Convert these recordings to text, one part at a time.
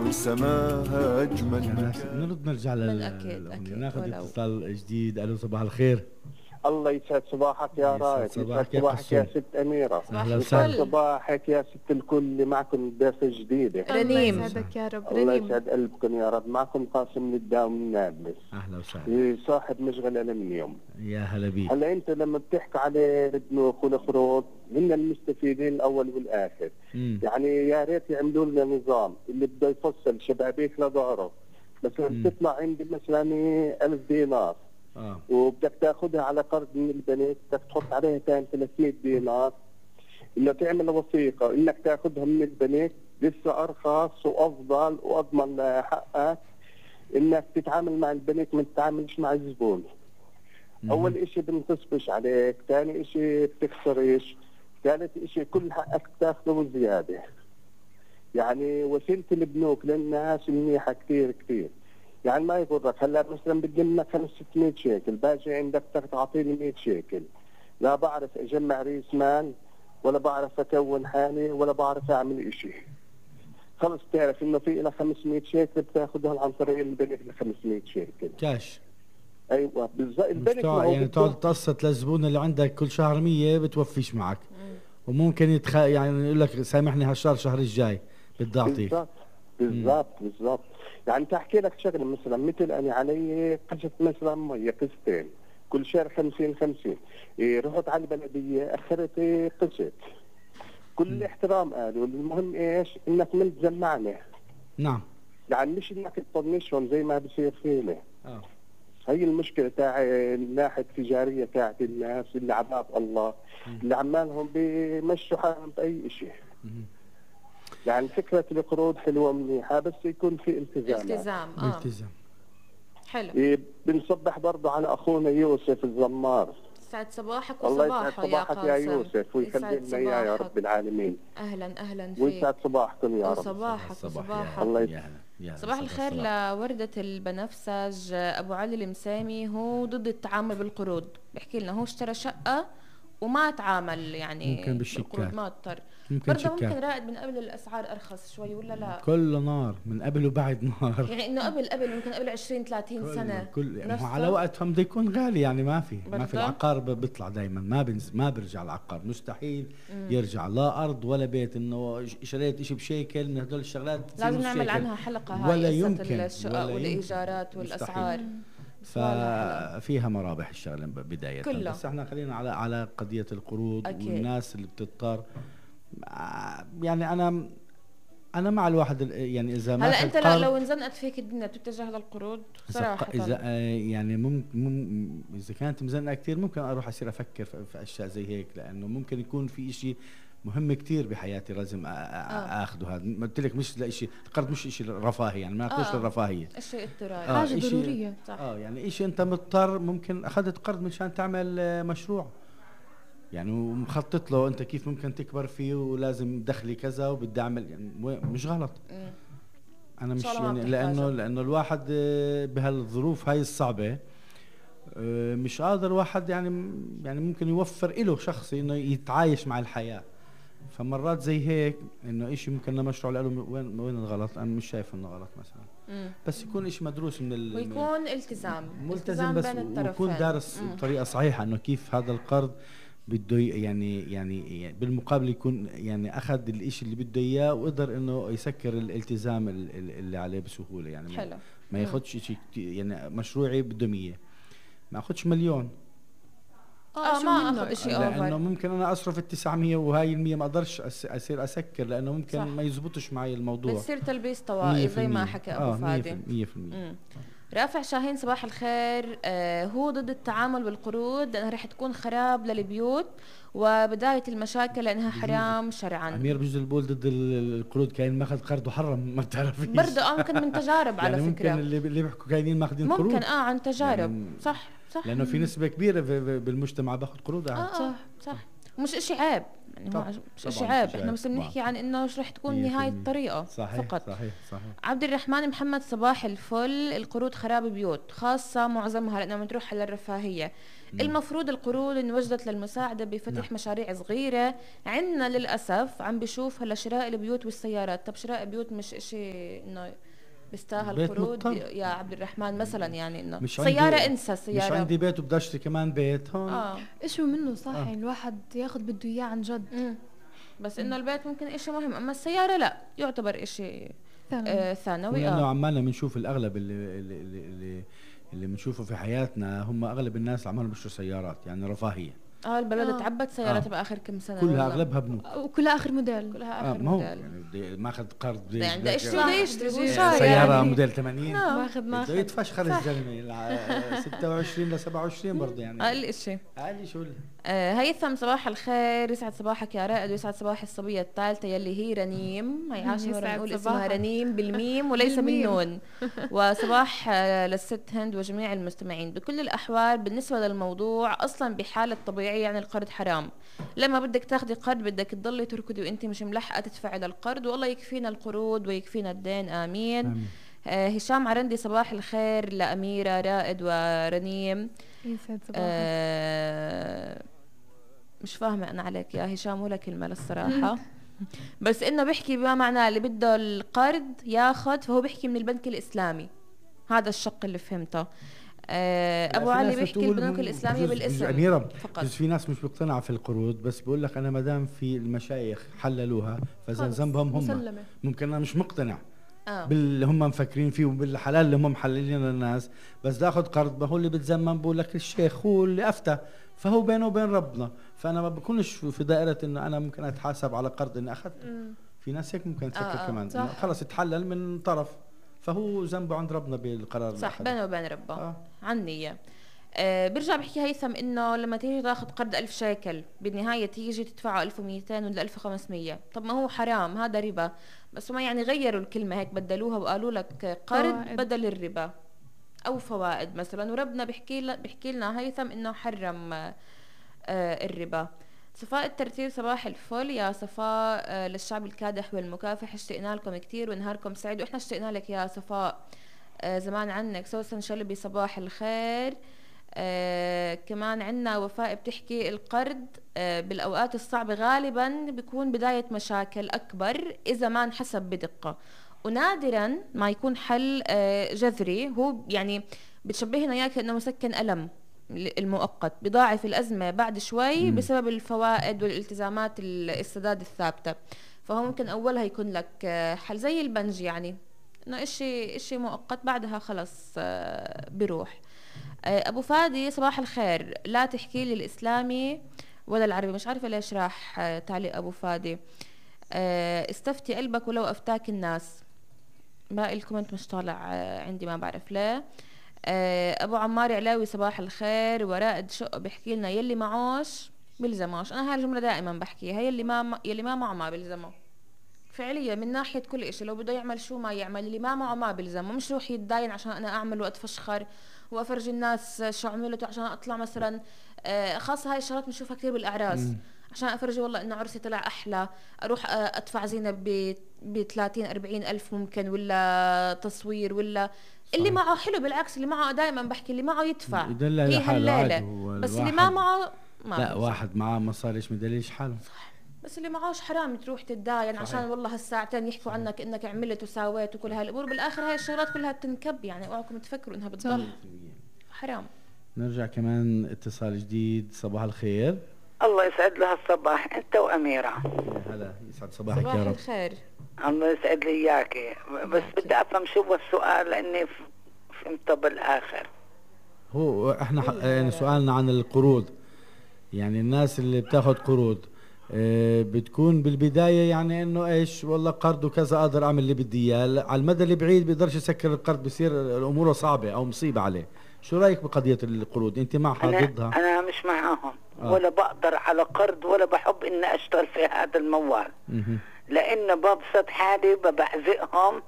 وسماها أجمل مكان. نرجع أكيد ناخذ اتصال جديد. ألو صباح الخير. الله يسعد صباحك يا رائد. يسعد صباحك يا ست أميرة. أهلا وسهلا. صباحك يا ست الكل اللي معكم ضيفة جديدة. رنيم. الله يسعدك يا رب. الله يسعد قلبكم يا رب. معكم قاسم من الداوم من نابلس. أهلا وسهلا. صاحب مشغل ألمنيوم. يا هلا بيك. هلا أنت لما بتحكي على البنوك والقروض هن المستفيدين الأول والآخر. يعني يا ريت يعملوا لنا نظام اللي بده يفصل شبابيك لظهره. مثلا بتطلع عندي مثلا 1000 دينار. وبدك تاخذها على قرض من البنك، بدك تحط عليها كان 300 دينار، انه تعمل وثيقه انك تاخذها من البنك لسه ارخص وافضل واضمن حقك انك تتعامل مع البنك ما تتعاملش مع الزبون. اول اشي بنتصبش عليك، ثاني اشي بتخسرش، ثالث اشي كل حقك تاخذه وزياده. يعني وسيله البنوك للناس منيحه كثير كثير. يعني ما يضرك. هلا مثلا بدي منك 500 شيكل، باجي عندك بدك تعطيني 100 شيكل، لا بعرف اجمع ريس مال ولا بعرف اكون حالي ولا بعرف اعمل اشي. خلص تعرف انه في لها 500 شيكل بتاخذها عن طريق البنك ل 500 شيكل كاش. ايوه بالضبط. البنك يعني تقعد تقسط للزبون اللي عندك كل شهر 100 بتوفيش معك. وممكن يعني يقول لك سامحني هالشهر الشهر الجاي بدي اعطيك. بالضبط. يعني تحكي لك شغله مثلا مثل انا علي قسط مثلا ميه قسطين كل شهر 50 رحت على البلديه اخرت قسط. كل احترام قالوا المهم ايش انك ما تجمعني. نعم. يعني مش انك تطنشهم زي ما بصير فينا. هي المشكله تاع الناحيه التجاريه تاعت الناس اللي عباد الله اللي عمالهم بيمشوا حالهم باي شيء. يعني فكرة القروض حلوة منيحة بس يكون في التزام. التزام. حلو. بنصبح برضه على أخونا يوسف الزمار. يسعد صباحك وصباحه يا قاسم. يا يوسف ويخلي لنا إياه يا رب العالمين. أهلا فيك. ويسعد صباحكم يا رب. وصباحك. الله صباح الخير لوردة البنفسج. أبو علي المسامي هو ضد التعامل بالقروض، بيحكي لنا هو اشترى شقة وما تعامل يعني ممكن بالشيكات، ما اضطر برضه ممكن رائد من قبل الاسعار ارخص شوي ولا لا؟ كله نار من قبل وبعد نار. يعني انه قبل ممكن قبل 20-30 سنه كل على وقتهم بده يكون غالي. يعني ما في العقار بيطلع دائما ما بيرجع العقار مستحيل يرجع لا ارض ولا بيت. انه شريت شيء بشيكل من هدول الشغلات لازم نعمل عنها حلقه هاي ولا يمكن الشقق والايجارات والاسعار. ففيها مرابح الشغله بدايه كله. بس احنا خلينا على قضيه القروض أكيد. والناس اللي بتضطر. يعني انا مع الواحد يعني اذا ما هلا انت لو انزنقت فيك الدنيا بتتجه للقروض صراحه. اذا يعني ممكن اذا كانت مزنقه كثير ممكن اروح اصير افكر في اشياء زي هيك، لانه ممكن يكون في شيء مهم كتير بحياتي لازم اخذه. هذا قلت لك مش لشيء القرض مش شيء رفاهي، يعني ما ناخذش للرفاهيه، الشيء اضطراري حاجه ضروريه. صح. يعني شيء انت مضطر ممكن اخذت قرض مشان تعمل مشروع يعني ومخطط له انت كيف ممكن تكبر فيه ولازم دخلي كذا وبدي اعمل يعني مش غلط. انا مش يعني لانه الواحد بهالظروف هاي الصعبه مش قادر واحد يعني ممكن يوفر له شخصي انه يتعايش مع الحياه. فمرات زي هيك انه اشي ممكن مشروع له وين الغلط. انا مش شايف انه غلط مثلا بس يكون اشي مدروس من ويكون التزام بس بين الطرفين ويكون دارس بطريقه صحيحه انه كيف هذا القرض بده يعني بالمقابل يكون يعني اخذ الاشي اللي بده اياه وقدر انه يسكر الالتزام اللي عليه بسهوله. يعني حلو. ما ياخذش شيء يعني مشروعي بده 100 ما اخذش مليون. ما اخذ شيء اوفر لانه ممكن انا اصرف ال900 وهاي ال100 ما اقدرش اصير اسكر لانه ممكن صح. ما يزبطش معي الموضوع. بتصير تلبيس طوائي زي ما حكى ابو فادي. 100%. رافع شاهين صباح الخير. هو ضد التعامل بالقروض لانها رح تكون خراب للبيوت وبدايه المشاكل لانها حرام شرعا. امير بجوز البول ضد القروض كاين ماخذ قرض وحرم ما بتعرفيش برضه ممكن من تجارب على يعني فكره ممكن اللي بيحكوا كاينين ماخذين قروض ممكن عن تجارب يعني صح لانه في نسبه كبيره بالمجتمع باخذ قروض صح مش اشي عيب يعني، هو مش اشي عيب، احنا بس بنحكي عن انه شو رح تكون نهاية الطريقة. صحيح فقط. صحيح. عبد الرحمن محمد صباح الفل. القروض خراب بيوت خاصة معظمها لأنها بتروح على الرفاهية. المفروض القروض انوجدت للمساعدة بفتح مشاريع صغيرة. عندنا للأسف عم بشوف هلا شراء البيوت والسيارات. طب شراء بيوت مش اشي انه بيستاهل قروض يا عبد الرحمن مثلا، يعني انه سيارة انسى سيارة. مش عندي بيت وبدي اشتري كمان بيت هون. اشو منه صح. الواحد ياخد بده اياه عن جد. بس انه البيت ممكن اشي مهم، اما السيارة لا يعتبر اشي ثانوي. لانه عمالنا بنشوف الاغلب اللي بنشوفه في حياتنا هم اغلب الناس عمالهم بيشتروا سيارات، يعني رفاهية. البلد تعبت سيارات بآخر كم سنة كلها اغلبها بنوك وكلها اخر موديل. كلها اخر موديل يعني بدي ماخذ قرض يعني بدي يشتري سيارة يعني موديل 80 ماخذ بده يتفشخر الزلمة 26 ل 27 برضه يعني اقل شيء. اقل شو هيثم صباح الخير. يسعد صباحك يا رائد ويسعد صباح الصبية الثالثة يلي هي رنيم. هي عاشة مرة نقول اسمها رنيم بالميم وليس بالنون. وصباح للست هند وجميع المستمعين. بكل الأحوال بالنسبة للموضوع أصلا بحالة طبيعية يعني القرض حرام. لما بدك تاخدي قرض بدك تضلي تركضي وانت مش ملحقة تدفعي للقرض، والله يكفينا القروض ويكفينا الدين آمين. هشام عرندي صباح الخير لأميرة رائد ورنيم. مش فاهمة أنا عليك يا هشام ولا كلمة للصراحة. بس إنه بيحكي بما معناه اللي بده القرض ياخد، فهو بيحكي من البنك الإسلامي. هذا الشق اللي فهمته. أبو علي بيحكي البنوك الإسلامية بالاسم أميرة فقط. بس في ناس مش بيقتنعوا في القروض، بس بقول لك أنا مدام في المشايخ حللوها فإذا ذنبهم هم مسلمة. ممكن أنا مش مقتنع باللي هم مفكرين فيه وبالحلال اللي هم محللين للناس، بس دا أخذ قرض ما هو اللي بتزمن بقول لك الشيخ هو اللي أفتى، فهو بينه وبين ربنا. فأنا ما بكونش في دائرة إنه أنا ممكن أتحاسب على قرض إني أخذته. في ناس هيك ممكن تفكر كمان خلص يتحلل من طرف، فهو ذنبه عند ربنا بالقرار صح بينه وبين ربه عن نية. برجع بحكي هيثم انه لما تيجي تاخذ قرض 1000 شيكل بالنهايه تيجي تدفعه 1200 ولا 1500. طب ما هو حرام، هذا ربا. بس ما يعني غيروا الكلمه هيك بدلوها وقالوا لك قرض بدل الربا او فوائد مثلا، وربنا بحكي لنا هيثم انه حرم الربا. صفاء الترتيل صباح الفل يا صفاء للشعب الكادح والمكافح. اشتقنا لكم كتير ونهاركم سعيد. واحنا اشتقنا لك يا صفاء زمان عنك. سوسن شلبي صباح الخير. كمان عنا وفاء بتحكي القرض بالأوقات الصعبة غالبا بيكون بداية مشاكل أكبر إذا ما انحسب بدقة، ونادرا ما يكون حل جذري. هو يعني بتشبهنا إياه كأنه مسكن ألم المؤقت بضاعف الأزمة بعد شوي بسبب الفوائد والالتزامات السداد الثابتة. فهو ممكن أولها يكون لك حل زي البنج، يعني إنه إشي مؤقت بعدها خلص بيروح. أبو فادي صباح الخير. لا تحكي لي الإسلامي ولا العربي. مش عارفة ليش راح تعليق أبو فادي. استفتي قلبك ولو أفتاك الناس. باقي الكومنت مش طالع عندي ما بعرف ليه. أبو عمار علاوي صباح الخير. ورائد شق بحكي لنا يلي معوش بلزموش. أنا هاي الجملة دائما بحكيها، يلي ما معه ما بلزمه فعليا من ناحية كل إشي. لو بده يعمل شو ما يعمل، اللي ما معه ما بلزمه. مش روح يتداين عشان أنا أعمل وأتفشخر وأفرج الناس شو عملته عشان أطلع مثلا خاصة هاي الشغلات بنشوفها كتير بالأعراس، عشان أفرج والله إنه عرسي طلع أحلى، أروح أدفع زينة ب 30-40 ألف ممكن، ولا تصوير، ولا اللي معه حلو. بالعكس اللي معه دائما بحكي اللي معه يدفع هي هالليلة، بس اللي ما معه ما لا واحد معه مصاري مش مدليش حاله. صح. بس اللي معهوش حرام تروح تتداين عشان والله هالساعتين يحكوا عنك انك عملت وساويت وكل هالامور، بالاخر هاي الشغلات كلها بتنكب. يعني اوعكم تفكروا انها بتضل حرام. نرجع كمان اتصال جديد. صباح الخير. الله يسعد لها الصباح انت واميره. هلا يسعد صباحك يا رب. صباح الخير. الله يسعد لي اياكي. بس بدي افهم شو هو السؤال لاني فهمته بالاخر. هو احنا يعني سؤالنا عن القروض، يعني الناس اللي بتاخد قروض بتكون بالبداية يعني انه ايش والله قرض وكذا اقدر اعمل اللي بدي اياه، على المدى البعيد بيقدرش يسكر القرض، بصير الامور صعبة او مصيبة عليه. شو رايك بقضية القروض؟ انت معها ضدها؟ انا مش معاهم ولا بقدر على قرض ولا بحب اني اشتغل في هذا الموال، لانه ببسط حالي ببعزقهم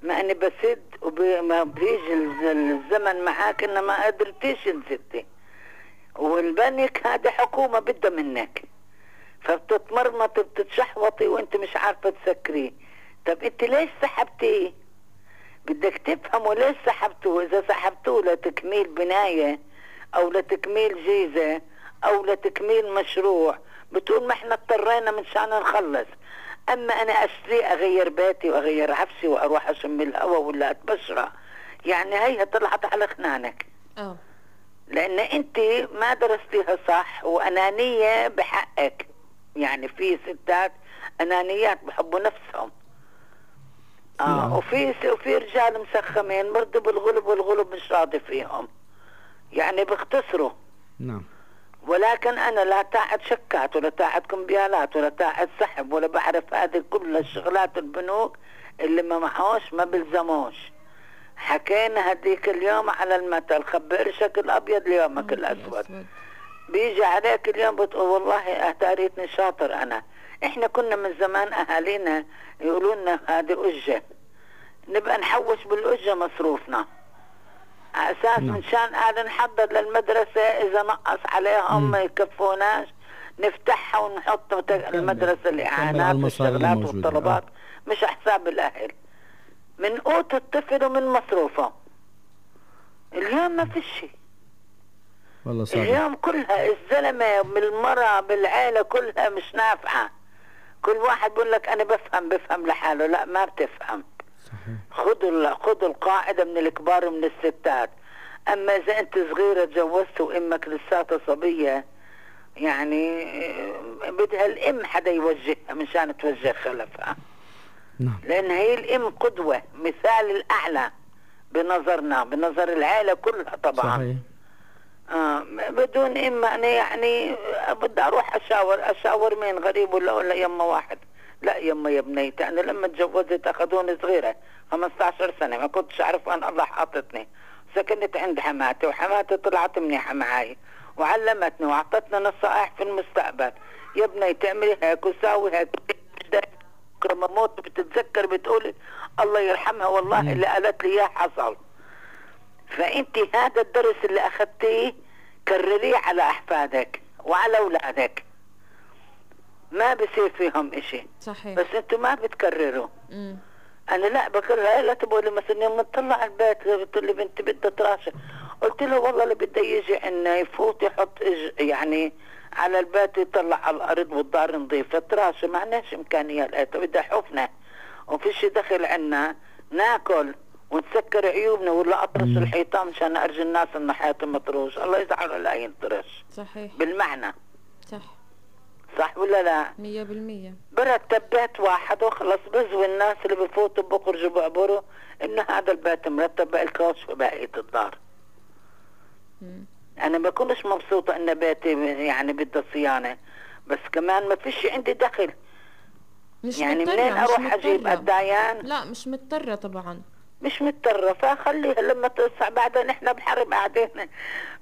ما اني بسد وما بيجي الزمن معاك انه ما قدرتيش تسدي، والبنك هذه حكومة بدها منك، فبتتمرمطي بتتشحوطي وانت مش عارفة تسكريه. طب انت ليش سحبتيه؟ بدك تفهموا ليش سحبتوه. اذا سحبتوه لتكميل بناية او لتكميل جيزة او لتكميل مشروع بتقول ما احنا اضطرينا من شان نخلص. اما انا اشتري اغير بيتي واغير عفشي واروح اشم الهواء ولا اتبشره، يعني هي طلعت على خنانك. لان انت ما درستيها صح وانانية بحقك. يعني في ستات انانيات بحبوا نفسهم. وفي رجال مسخمين برضه بالغلب، والغلب مش راضي فيهم، يعني بيختصروا. نعم. ولكن انا لا تاعت شكات ولا تاعت كمبيالات ولا تاعت سحب ولا بعرف هذه كل الشغلات البنوك اللي ما معوش ما بلزموش. حكينا هديك اليوم على المثل خبي قرشك الابيض ليومك الاسود. بيجي عليك اليوم بتقول والله اهتاريتني شاطر انا. احنا كنا من زمان اهالينا يقولوا لنا هذه اجه، نبقى نحوش بالاجه مصروفنا على اساس من شان قاعد نحضر للمدرسه اذا نقص عليهم ما يكفوناش نفتحها ونحط المدرسه الاعانات والشغلات والطلبات مش حساب الاهل، من قوت الطفل ومن مصروفه. اليوم ما في شيء والله صعب. اليوم كلها الزلمه بالمرأة بالعيله كلها مش نافعه. كل واحد بقول لك انا بفهم لحاله. لا ما بتفهم. صحيح. خذوا القاعده من الكبار ومن الستات. اما اذا انت صغيره تجوزت وامك لساتها صبيه يعني بدها الام حدا يوجهها مشان توجه خلفها. نعم. لان هي الام قدوه مثال الاعلى بنظرنا بنظر العائله كلها طبعا. صحيح. بدون اما انا يعني بدي اروح اشاور مين غريب ولا يما واحد. لا يما يا بنيتي انا لما تجوزت اخذوني صغيره 15 سنه ما كنتش اعرف ان الله حاطتني. سكنت عند حماتي وحماتي طلعت منيحه معي وعلمتني واعطتنا نصائح في المستقبل. يا بنيتي اعملي هيك وساوي هيك. لما موت بتتذكر بتقولي الله يرحمها والله اللي قالت لي اياه حصل. فانت هذا الدرس اللي اخذتيه كرريه على احفادك وعلى اولادك. ما بصير فيهم اشي. صحيح. بس انتوا ما بتكرروا. انا لا بكرر. لا تقولي مثلا يوم تطلع البيت بتقول لي بنتي بدها تراشق. قلت له والله اللي بده يجي عنا يفوت يحط يعني على البيت يطلع على الارض والدار نظيفه تراشق ما عندناش امكانيه لقيتها بدها حفنه وفيش دخل عنا ناكل ونسكر عيوبنا ولا اطرش الحيطان مشان ارجي الناس ان حياتي مطروش. الله يزعل لا ينطرش. صحيح. بالمعنى. صح ولا لا؟ 100%. برتب بيت واحد وخلص بزوي الناس اللي بفوتوا بخرجوا بعبروا انه هذا البيت مرتب بالكوش في بقية الدار. انا ما بكونش مبسوطة ان بيتي يعني بده صيانة بس كمان ما فيش عندي دخل. مش يعني مضطرة. منين اروح اجيب قدايان؟ لا مش مضطرة طبعا. مش مضطرة فخليها لما تصع. بعدين احنا بحرب قاعدين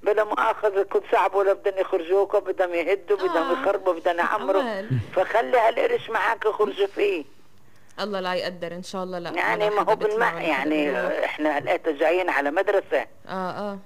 بلا مؤاخذة كل صعب ولا بدهم يخرجوك بدهم يهدوا بدهم يخربوا بدهم يعمروا. فخلي هالقرش معك يخرجوا فيه. الله لا يقدر ان شاء الله. لا يعني ما هو يعني احنا هلقيت جايين على مدرسة.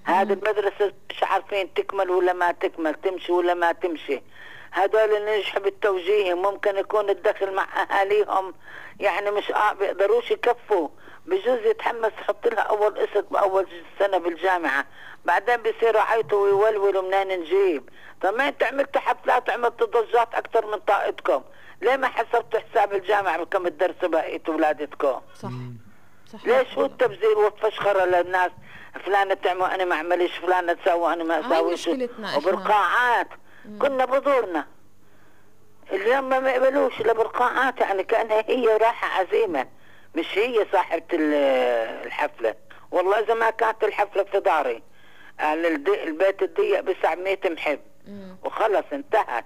هذه المدرسة مش عارفين تكمل ولا ما تكمل تمشي ولا ما تمشي. هذول اللي نجحوا بالتوجيه ممكن يكون الدخل مع اهاليهم يعني مش بيقدروش يكفوا. بجوز يتحمس يحط لها اول قسط باول سنه بالجامعه بعدين بيصيروا عيطوا ويولولوا منين نجيب. طب ما انت عملتوا حفلات وعملتوا ضجات اكثر من طاقتكم ليه ما حسبتوا حساب الجامعه بكم تدرسوا بقيه اولادتكم؟ صح. ليش هو التبذير والفشخره للناس فلانه تعمل انا ما اعملش فلانه تسوي انا ما اسويش وبالقاعات كنا بذورنا. اليوم ما يقبلوش الا بالقاعات يعني كانها هي راحه عزيمه مش هي صاحبة الحفلة. والله إذا ما كانت الحفلة في داري البيت الضيق بسع 100 محب وخلص انتهت.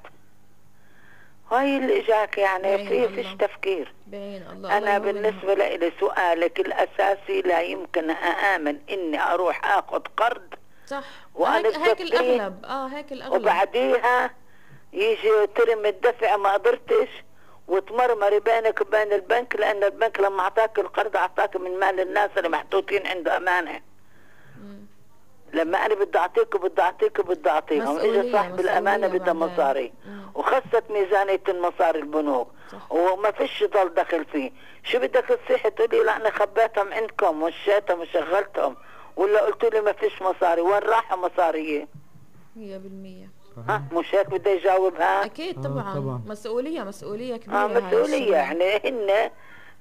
هاي اللي اجاك يعني فيش تفكير. الله. أنا بالنسبة لي سؤالك الأساسي لا يمكن أآمن إني أروح أخذ قرض. صح. هيك الأغلب. هيك الأغلب. وبعديها يجي ترم الدفع ما قدرتش وتمرمري بينك وبين البنك لأن البنك لما أعطاك القرض أعطاك من مال الناس اللي محطوطين عنده أمانة. لما انا بدي اعطيك وبدي اعطيك وبدي اعطيهم، اجى صاحب الامانه بدها مصاري وخست ميزانيه المصاري البنوك وما فيش ضل دخل فيه، شو بدك تصيح تقولي لا انا خبيتهم عندكم وشيتهم وشغلتهم، ولا قلت لي ما فيش مصاري؟ وين راحوا مصاريه؟ 100%. مش هيك بدي يجاوبها؟ اكيد طبعا. مسؤوليه كبيره. مسؤوليه، يعني هن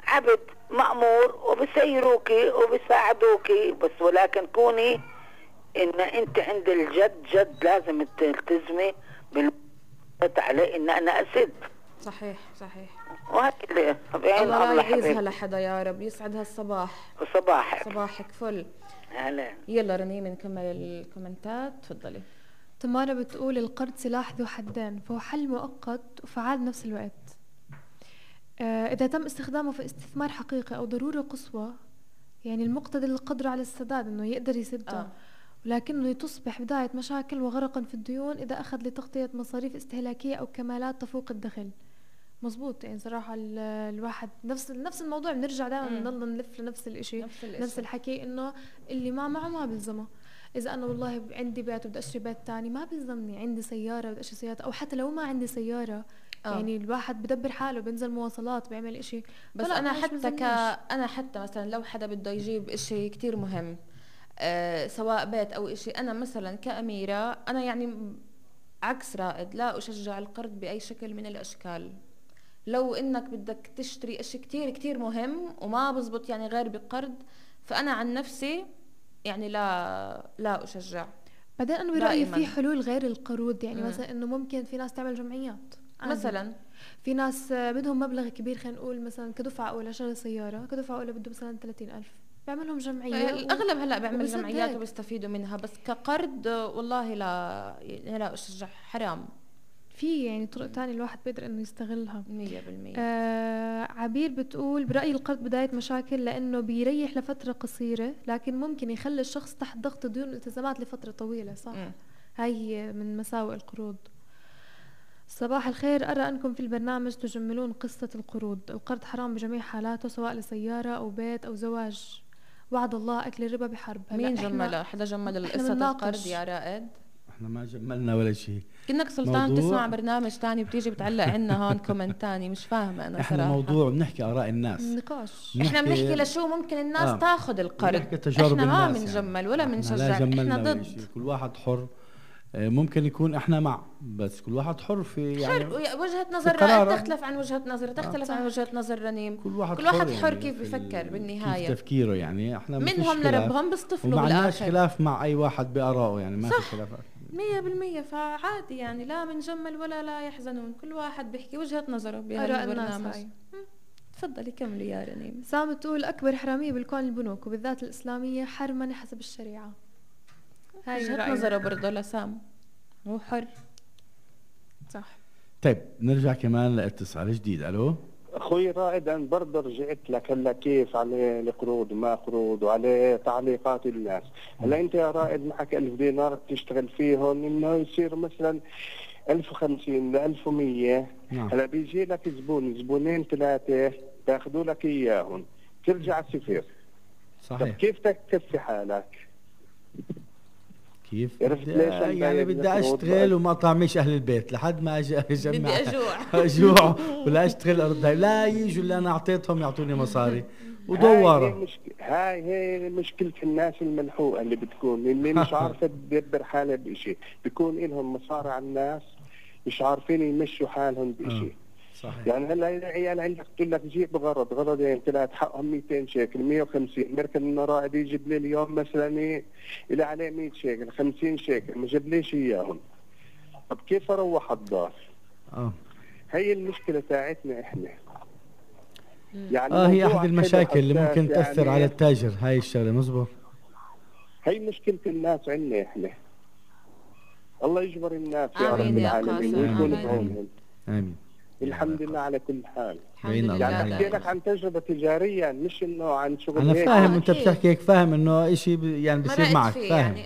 عبد مأمور وبسيروكي وبساعدوكي، بس ولكن كوني ان انت عند الجد جد لازم تلتزمي عليه ان انا اسد. صحيح. وهكذا الله لا يعيزها لحدا يا رب. يسعد هالصباح. صباحك فل. هلا. يلا رنيم نكمل الكومنتات، تفضلي. تمارا بتقول القرض سلاح ذو حدين، فهو حل مؤقت وفعال بنفس الوقت. إذا تم استخدامه في استثمار حقيقي أو ضرورة قصوى، يعني المقتدر القدر على السداد إنه يقدر يسدها، ولكنه تصبح بداية مشاكل وغرقا في الديون إذا أخذ لتغطية مصاريف استهلاكية أو كمالات تفوق الدخل. مزبوط، يعني صراحة الواحد نفس الموضوع، بنرجع دائما بنضل نلف لنفس الاشي، نفس الحكي، إنه اللي ما معه ما بلزمه. إذا أنا والله عندي بيت وبدي أشتري بيت تاني ما بلزمني، عندي سيارة بدي أشتري سيارة، أو حتى لو ما عندي سيارة يعني الواحد بدبر حاله، بينزل مواصلات، بيعمل إشي. بس أنا حتى مثلا لو حدا بده يجيب إشي كتير مهم، سواء بيت أو إشي، أنا مثلا كأميرة أنا يعني عكس رائد، لا أشجع القرض بأي شكل من الأشكال. لو إنك بدك تشتري إشي كتير كتير مهم وما بزبط يعني غير بقرض، فأنا عن نفسي يعني لا أشجع. بعدين أنا برأيي في حلول غير القروض، يعني مثلا إنه ممكن في ناس تعمل جمعيات مثلا، في ناس بدهم مبلغ كبير، خلينا نقول مثلا كدفعة أولى شغل سيارة، كدفعة أولى بده مثلا 30,000، بيعملهم جمعية. الأغلب هلا بيعمل جمعيات وبيستفيدوا منها، بس كقرض والله لا أشجع، حرام. في يعني طرق تانية الواحد بيقدر إنه يستغلها 100%. عبير بتقول برأيي القرض بداية مشاكل، لأنه بيريح لفترة قصيرة، لكن ممكن يخلي الشخص تحت ضغط ديون والالتزامات لفترة طويلة. صح. هاي هي من مساوئ القروض. صباح الخير، أرى أنكم في البرنامج تجملون قصة القروض. القرض حرام بجميع حالاته، سواء لسيارة أو بيت أو زواج. وعد الله أكل الربا بحرب. مين جملها؟ حدا جمل قصة القرض يا رائد؟ احنا ما جملنا ولا شيء. كأنك سلطان تسمع برنامج تاني بتيجي بتعلق عنا هون كومنت تاني، مش فاهمة أنا احنا صراحة. موضوع بنحكي آراء الناس، نقاش. احنا بنحكي لشو ممكن الناس تاخذ القرض، احنا ما بنجمل ولا بنشجع، احنا ضد. كل واحد حر، ممكن يكون احنا مع، بس كل واحد حر في يعني وجهة نظر رائد تختلف عن وجهة نظر، تختلف عن وجهة نظر رنيم. كل واحد حر يعني كيف بفكر بالنهاية، كيف تفكيره. يعني احنا منهم لربهم بيصطفلوا بالاخر، وما عندناش خلاف مع اي واحد بآرائه، يعني ما في خلاف 100%. فعادي يعني، لا بنجمل ولا لا يحزنون، كل واحد بيحكي وجهة نظره بهالبرنامج. تفضلي كملي يا رنيم. سام تقول أكبر حرامية بالكون البنوك، وبالذات الإسلامية حرما حسب الشريعة. هاي وجهة نظره برضه لسام، هو حر. صح. طيب نرجع كمان لاتصال جديد. الو اخوي رائد، انا برضه رجعت لك هلا كيف على القروض وما قروض وعلى تعليقات الناس. هلا انت يا رائد معك 1000 دينار بتشتغل فيهم، انه يصير مثلا 1050 ل 1100. هلا بيجي لك زبونين ثلاثه بياخذوا لك اياهم، ترجع صفر. صحيح. طب كيف بدك تكفي حالك؟ كيف يعني بدي اشتغل وما طعميش اهل البيت لحد ما اجمع، بدي اجوع ولا اشتغل ارد، لا يجوا اللي انا اعطيتهم يعطوني مصاري ودوره. هاي مشكلة الناس الملحوقة اللي بتكون، اللي مش عارفة تدبر حالها بشيء، بيكون لهم مصاري على الناس مش عارفين يمشوا حالهم بشيء. صحيح. يعني هلا العيال عندك تقول لك جيب غرضين ثلاث حقهم 200 شيكل 150، مركز انه رائد يجيب لي اليوم مثلا اللي عليه 100 شيكل 50 شيكل ما جابليش اياهم. طب كيف اروح الدار؟ هي المشكلة تاعتنا احنا. يعني هي احد المشاكل اللي ممكن تأثر يعني على التاجر، هاي الشغلة مزبوط. هي مشكلة الناس عندنا احنا. الله يجبر الناس يا رب العالمين ويكون بعونهم. امين. الحمد لله على كل حال. يعني احكي لك عن تجربة تجارية، مش انه عن شغل. انا فاهم انت بتحكي هيك، فاهم انه اشي يعني بصير معك، فاهم يعني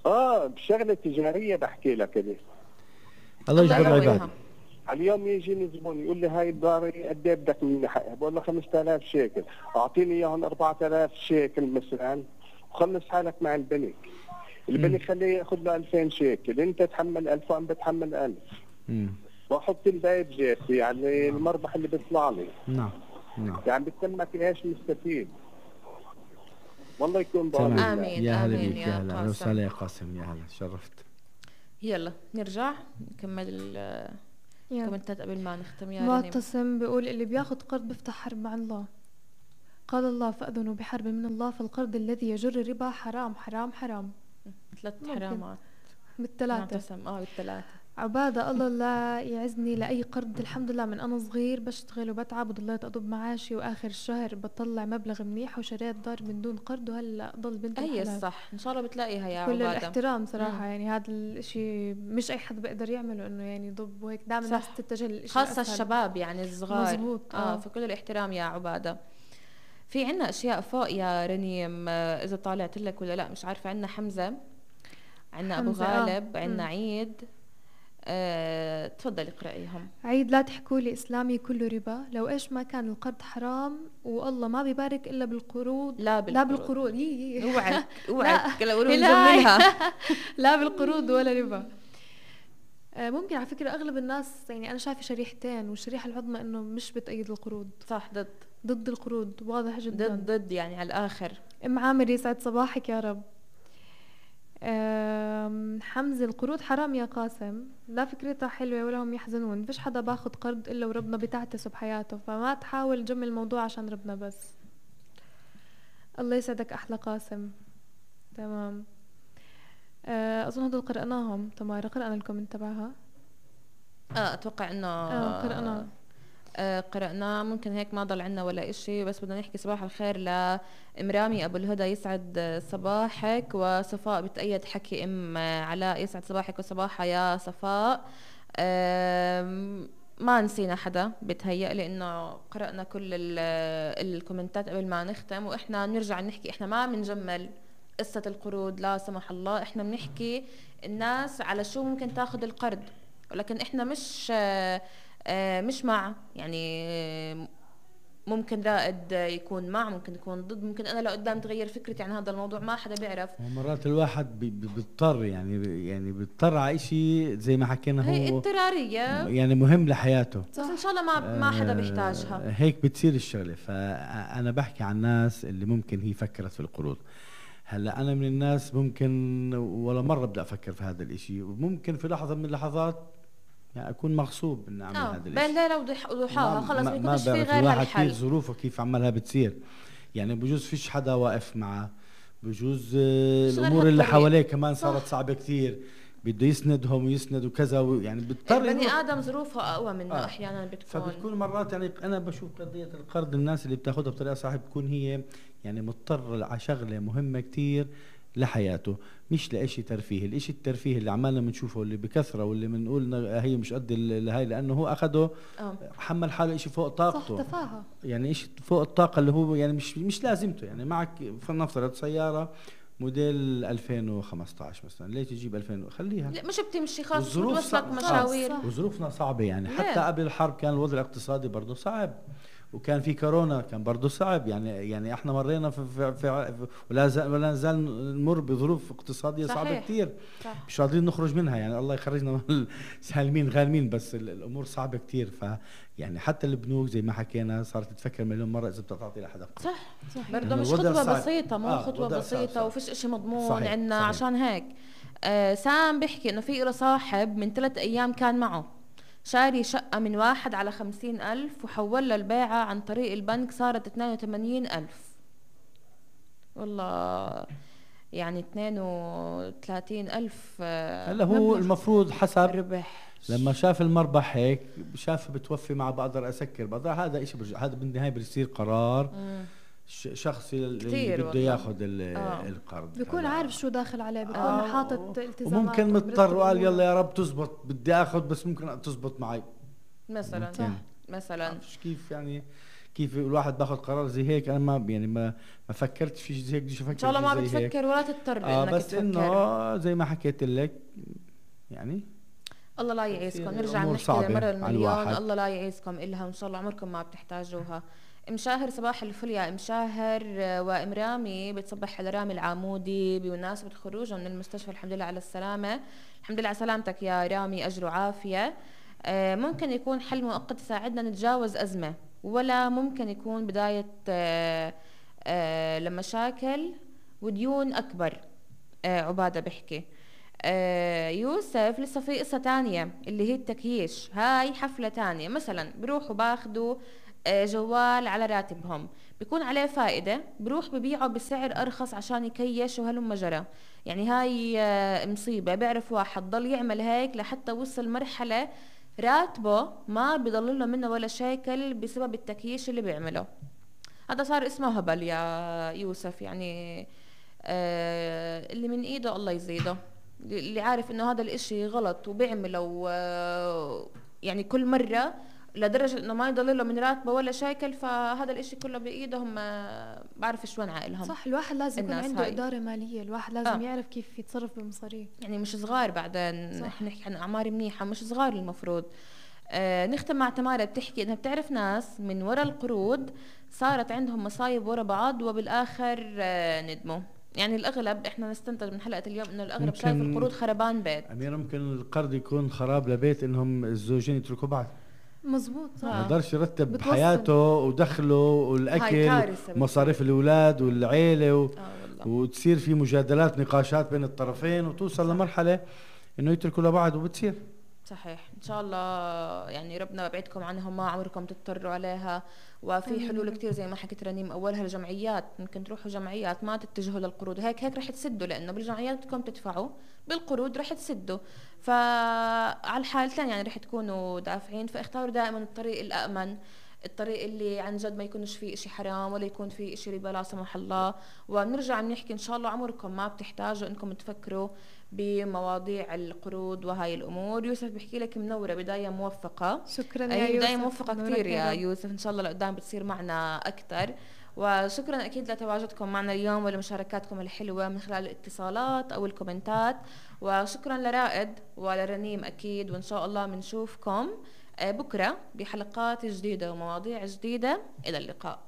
فاهم. بشغلة تجارية بحكي لك هذه. الله يجبر العباد. اليوم يجيني زبون يقول لي هاي الدار قد ايه بدك مني حقها؟ بقول له 5000 شيكل، اعطيني اياهم 4000 شيكل مثلا وخلص حالك مع البنك. اللي بدي خليه ياخذ له 2000 شيكل، انت تحمل 1000 وانا بتحمل 1000 واحط الباقي بجيبي، يعني المربح اللي بيطلع لي. نعم يعني بتسمك ايش مستفيد. والله يكون آمين. يا هلا آمين بيك، يا هلا وسهلا يا قاسم، يا هلا شرفت. يلا نرجع نكمل الكومنتات قبل ما نختم. يا معتصم بيقول اللي بياخد قرض بيفتح حرب مع الله. قال الله فأذنوا بحرب من الله، فالقرض الذي يجر الربا حرام حرام حرام. 3 حرامات بالثلاثة. معتصم بالثلاثة. عبادة الله لا يعزني لأي قرض، الحمد لله من أنا صغير بشتغل وبتعب وضليت أضب معاشي وآخر الشهر بطلع مبلغ منيح وشريت دار من دون قرض وهلا ضل بنت الحلال. الصح إن شاء الله بتلاقيها يا كل عبادة. الاحترام صراحة. يعني هذا الاشي مش أي حد بيقدر يعمله، إنه يعني يضب وهيك دائما الناس تتجه للإشي خاصة الأسهل. الشباب يعني الصغار. مزبوط. فكل الاحترام يا عبادة. في عنا أشياء فوق يا رنيم، إذا طالعت لك ولا لا مش عارفة. عنا حمزة، عنا أبو غالب، عنا عيد. تفضل اقرأيهم. عيد لا تحكوا لي إسلامي كله ربا، لو إيش ما كان القرض حرام والله ما بيبارك إلا بالقروض. لا بالقروض. اوعك لو نجملها. لا بالقروض ولا ربا. ممكن على فكرة أغلب الناس يعني أنا شايفة شريحتين، والشريحة العظمى إنه مش بتأيد القروض. صح، ضد القروض واضح جدا. ضد يعني على الآخر. أم عامر يسعد صباحك يا رب. حمزة القروض حرام يا قاسم، لا فكرتها حلوة ولا هم يحزنون. فيش حدا باخد قرض إلا وربنا بتعتسه بحياته، فما تحاول تجمل الموضوع عشان ربنا بس. الله يسعدك أحلى قاسم. تمام. أظن هدول قرأناهم. تمارا قرأنا الكومنت تبعها. أتوقع إنه قرأنا. ممكن هيك ما ضل عنا ولا إشي، بس بدنا نحكي صباح الخير لإمرامي أبو الهدى، يسعد صباحك. وصفاء بتأيد حكي علاء، يسعد صباحك وصباحها يا صفاء. ما نسينا حدا بتهيأ، لأنه قرأنا كل الكومنتات قبل ما نختم. وإحنا نرجع نحكي، إحنا ما بنجمل قصة القروض لا سمح الله، إحنا بنحكي الناس على شو ممكن تاخد القرض، ولكن إحنا مش مع، يعني ممكن رائد يكون مع، ممكن يكون ضد، ممكن انا لو قدام تغير فكرتي عن هذا الموضوع، ما حدا بيعرف. ومرات الواحد بيضطر يعني بيضطر على شيء زي ما حكينا، هو هي اضطراريه يعني مهم لحياته، بس ان شاء الله ما حدا بيحتاجها. هيك بتصير الشغله. فانا بحكي عن الناس اللي ممكن هي فكرت في القروض. هلا انا من الناس ممكن ولا مره بدي افكر في هذا الاشي، وممكن في لحظه من اللحظات يعني اكون مغصوب اني اعمل هذا الشيء بين ليله وضحاها، خلص ما يكونش في غير هالحل. كيف ظروفه كيف عملها بتصير، يعني بجوز فيش حدا واقف معه، بجوز الامور اللي حواليه كمان صارت صعبه كثير، بده يسندهم ويسند وكذا، يعني بضطر بني ادم ظروفه اقوى منه احيانا فبتكون مرات. يعني انا بشوف قضيه القرض الناس اللي بتاخذها بطريقه صح بتكون هي يعني مضطر على شغله مهمه كثير لحياته، مش لإشي ترفيه. الإشي الترفيه اللي عمالنا بنشوفه اللي بكثرة واللي بنقول هي مش قد هاي، لأنه هو أخده حمل حاله إشي فوق طاقته، صح تفاهة، يعني إشي فوق الطاقة اللي هو يعني مش لازمته. يعني معك فلنفترض سيارة موديل 2015 مثلا، ليش تجيب 2000؟ خليها لا مش بتمشي خلاص، بتوصلك مشاوير. وظروفنا صعبة يعني حتى قبل الحرب كان الوضع الاقتصادي برضه صعب، وكان في كورونا كان برضه صعب. يعني احنا مرينا في ولا نزال نمر بظروف اقتصاديه صعبه كثير، مش قادرين نخرج منها. يعني الله يخرجنا سالمين غانمين، بس الامور صعبه كثير. يعني حتى البنوك زي ما حكينا صارت تفكر مليون مره اذا بتعطي لحدا صح برضه مش خطوه بسيطه، مو خطوه بسيطه وفيش اشي مضمون عندنا. عشان هيك سام بيحكي انه في له صاحب من 3 أيام كان معه شاري شقة من 1 على 50,000 وحول البيعة عن طريق البنك، صارت 82,000. والله يعني 32,000. هلا هو المفروض حسب ربح، لما شاف المربح هيك شاف بتوفي مع بقدر أسكر بقدر. هذا إشي هذا بالنهاية بيصير قرار شخصي اللي بده ياخذ القرض، بيكون عارف شو داخل عليه، بيكون حاطط التزامات، وممكن مضطر وقال يلا يا رب تزبط بدي اخذ، بس ممكن تزبط معي مثلا. مثلا كيف يعني كيف الواحد باخذ قرار زي هيك. انا ما فكرتش في زي هيك، بديش افكر ان شاء الله ما بتفكر ولا تضطر انك بس تفكر. انه زي ما حكيت لك يعني الله لا يعيسكم. نرجع نحكي لمرة المليون، الله لا يعيسكم إلها، وإن شاء الله عمركم ما بتحتاجوها. مشاهر صباح الفل يا مشاهر. وام رامي بتصبح على رامي العامودي بمناسبة خروجه من المستشفى، الحمد لله على السلامة. الحمد لله على سلامتك يا رامي، أجر وعافية. ممكن يكون حل مؤقت يساعدنا نتجاوز أزمة، ولا ممكن يكون بداية لمشاكل وديون أكبر. عبادة بحكي. يوسف لسه في قصة تانية اللي هي التكييش، هاي حفلة تانية. مثلا بروحوا باخدوا جوال على راتبهم، بيكون عليه فائدة، بروح ببيعه بسعر أرخص عشان يكيش وهلم جرى. يعني هاي مصيبة. بيعرف واحد ضل يعمل هيك لحتى وصل مرحلة راتبه ما بيضل له منه ولا شيكل بسبب التكييش اللي بيعمله. هذا صار اسمه هبل يا يوسف. يعني اللي من ايده الله يزيده، اللي عارف انه هذا الاشي غلط وبيعمله يعني كل مرة لدرجة انه ما يضل له من راتبه ولا شيكل، فهذا الاشي كله بايدهم. بعرف شو وين عائلهم. صح، الواحد لازم يكون عنده هاي إدارة مالية، الواحد لازم يعرف كيف يتصرف بالمصاريف. يعني مش صغار بعدين، احنا نحكي عن اعمار منيحة، مش صغار المفروض. نختم مع تمارا بتحكي انها بتعرف ناس من وراء القروض صارت عندهم مصايب ورا بعض وبالاخر ندموا. يعني الاغلب احنا نستنتج من حلقة اليوم انه الاغلب شايف القروض خربان بيت. أميرة، ممكن القرض يكون خراب لبيت انهم الزوجين يتركوا بعض. مزبوط، صح. ما يقدرش يرتب حياته ودخله والاكل ومصاريف الاولاد والعيله وتصير في مجادلات نقاشات بين الطرفين وتوصل لمرحله انه يتركوا لبعض وبتصير. صحيح. ان شاء الله يعني ربنا يبعدكم عنهم، ما عمركم تضطروا عليها. وفي حلول كتير زي ما حكيت رنيم، اولها الجمعيات. ممكن تروحوا جمعيات، ما تتجهوا للقروض. هيك رح تسدوا، لانه بالجمعيات بدكم تدفعوا، بالقروض رح تسدوا. فعلى الحالتين يعني رح تكونوا دافعين. فاختاروا دائما الطريق الامن، الطريق اللي عن جد ما يكونش فيه اشي حرام ولا يكون فيه اشي ربا لا سمح الله. ونرجع بنحكي ان شاء الله عمركم ما بتحتاجوا انكم تفكروا بمواضيع القروض وهاي الامور. يوسف بحكي لك منوره، بدايه موفقه. شكرا يا يوسف، بدايه موفقه كثير يا يوسف. ان شاء الله لقدام بتصير معنا اكثر. وشكرا اكيد لتواجدكم معنا اليوم ولمشاركاتكم الحلوه من خلال الاتصالات او الكومنتات. وشكرا لرائد ولرنيم اكيد. وان شاء الله بنشوفكم بكره بحلقات جديده ومواضيع جديده. الى اللقاء.